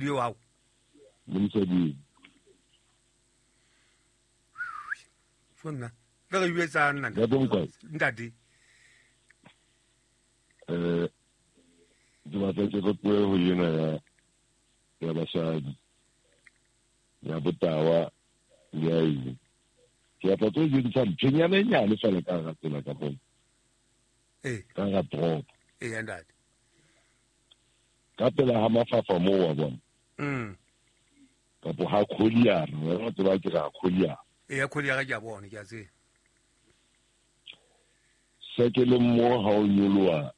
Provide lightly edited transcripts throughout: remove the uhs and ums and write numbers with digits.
Eo hao. Le mosadi. Sonna. Le re jwetsa nna. Ntate Mokwai. Ntate. Ke batla ke re tlohe ho ena ya basadi. Ya botawa le ya eng. Ke batla tlo jwetsa nthonyana e nyane fela ka hara tsela ka bona. Ee. Ka hara toropo. Ee, ntate. Ka pela ha mafafa moo wa bona. Kapo ha Kholiara, wena o tseba ke re ha Kholiara. Ee, ya Kholiara ke a bona, ke a tseba. Se ke le mo ha o nyoloha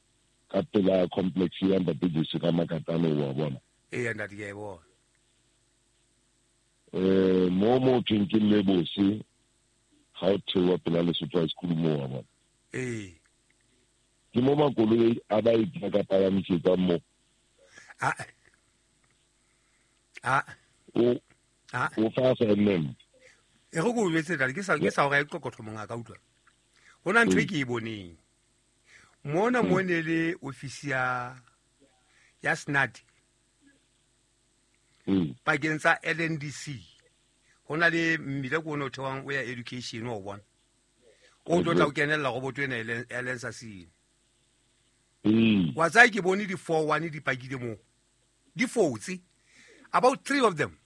ka pela complex ya Ntate Jesu ka Makatane wa bona. Ee, ntate ke a e bona. Mo thweng ke Lebose ha o theoha pela Lesotho High School mo wa bona. Ee. Ke mo makoloi a ba e ka palamisetsang mo. A. A. O. A. O fa assignment. E go go jwetse ntate, ke sa hore e qoqotho monga ka utlwa. Ho na ntho e ke e boneng. Mona mo ne le office ya SNAT. Pakeng tsa LNDC. Ho na le mmila ko o theohang o ya education wa o bona. O tlo tla o kenella go botho ena e leng sa sene. Wa tsaya ke bone di 4-1 di pakile moo. Di fotse. About 3 of them.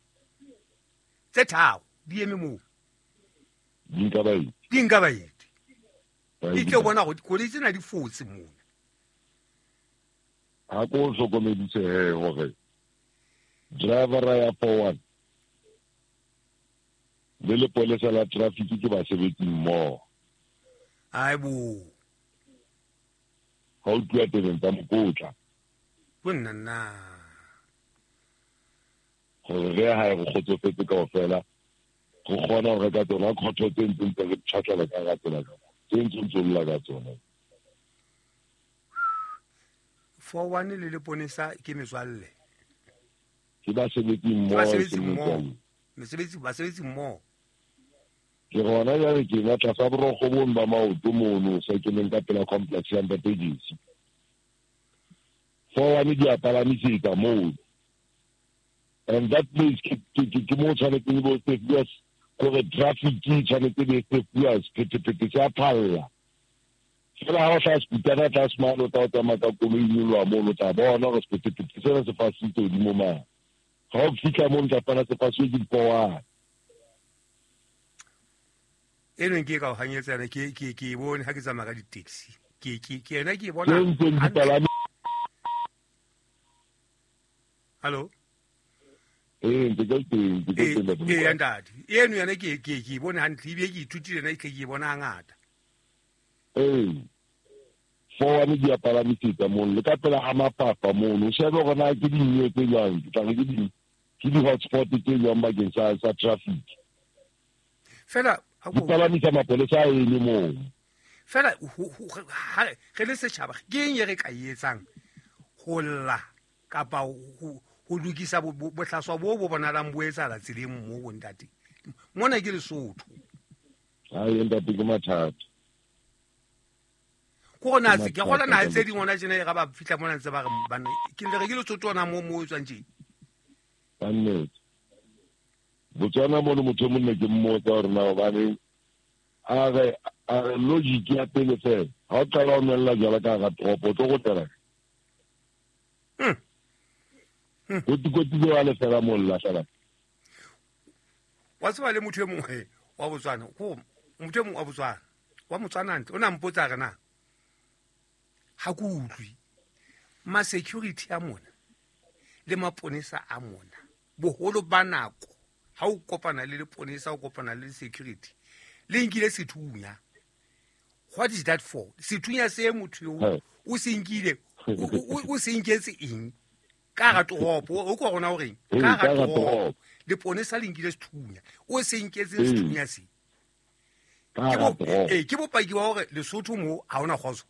Tse tharo di eme moo. Di nka baeti. Di nka baeti. Ke tlo bona gore dikoloi tsena di fotse mona. Ha ko hlokomedise he hore driver ya 4-1 le lepolesa la traffic ke basebetsi mmoho. Ai bo. Ha o tluwa tebeng tsa mokotla. Bo nna nna. Gore re ha re kgotsofetse kaofela, re kgona ho reka tsona khotho tse ntseng tse re tjhatlela ka hara tsela ka mona, tse ntseng tse lla ka tsona. 4-1 le leponesa ke metswalle. Ke basebetsi mmoho, Ke basebetsi ke mmoho. metswalle. Mesebetsi, basebetsi mmoho. Ke rona jwale ke na tlasa borokgo bong ba maoto mono, se ke leng ka pela complex ya Ntate Jesi. 4-1 di a palamisetsa moo. And that place ke mo tshwanetseng e bo sefuwa kore traffic e tshwanetse e be sefuwa sephethephethe se a phalla. Fela ha o tla sekutana tlase mane, o tla o tsamaya ka koloi e nyoloha mono, o tla bona hore sephethephethe sena se fasitse hodimo mane. Ha o fihla mono, o tla fumana se fasuwe ke dipowane. E neng ke ka o hanyetsa yona, ke e bone ha ke tsamaya ka di-taxi. Ke yena ke e bona Tse ntseng di hantle. palame. Hallo? Ee, ntse ke teng, ntse ke Ee, teng, Ntate ee, Mokoena. ntate. Eno yona ke e bone hantle, ebile ke ithutile yona, ehlile ke e bona hangata. Ee. 4-1 di a palamisetsa mono, le ka pela ha mafapha mono. O shebe hore na ke dinyewe tse jwang, ke tla re ke di-hotspot tse jwang bakeng sa traffic. Fela, ha Di ko- palamisa mapolesa a eme moo. Fela, ha re le setjhaba, ke eng e re ka e etsang ho lla kapa ho lokisa bohlaswa bo bo bonahalang bo etsahala tseleng moo, bo ntate? Mona ke Lesotho. Hai, ntate, ke mathata. Ko rona Ke se, ke kgolwa naha mathata. tse ding hona tjena e ra ba fihla mona ntse ba re banna, ke le re ke Lesotho hona moo o tswang tje. Ka nnete. Botswana mono motho o monna ke mmotsa hore na hobane a re logic ya pele fela. Ha o qala ho nwella jwala ka hara toropo, o tlo kgutlela kae? Kotikoti le wa lefela moo le lahlela. Wa tseba le motho e mongwe wa Botswana, ko motho e mongwe wa Botswana, wa Motswana ntle, o na mpotsa re na ha ke utlwe ma security a mona le maponesa a mona, boholo ba nako ha o kopana le leponesa, o kopana le security, le nkile sethunya. What is that for? Sethunya se motho yo o se nkile, o se nketse eng? Ka hara toropo, o kwa rona o reng? Ee, Ka hara ka hara toropo. toropo. Leponesa le nkile sethunya. O se nketse Ee. sethunya se. Ka Ke hara toropo. ke bopaki ba hore Lesotho mo ha hona kgotso.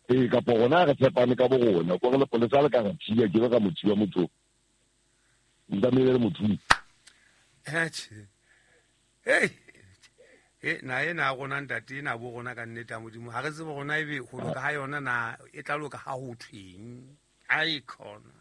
Ee, kapa rona re tshepane ka bo rona, kore lepolesa le ka re thiba, ke be ka mo thiba motho. Ntamele le motho. Atjhe. Hey. Na ena ya rona ntate, ena bo rona ka nnete ya Modimo. Ha re tsebe rona ebe ho loka ha yona na e tla loka ha ho thweng. Ai khona.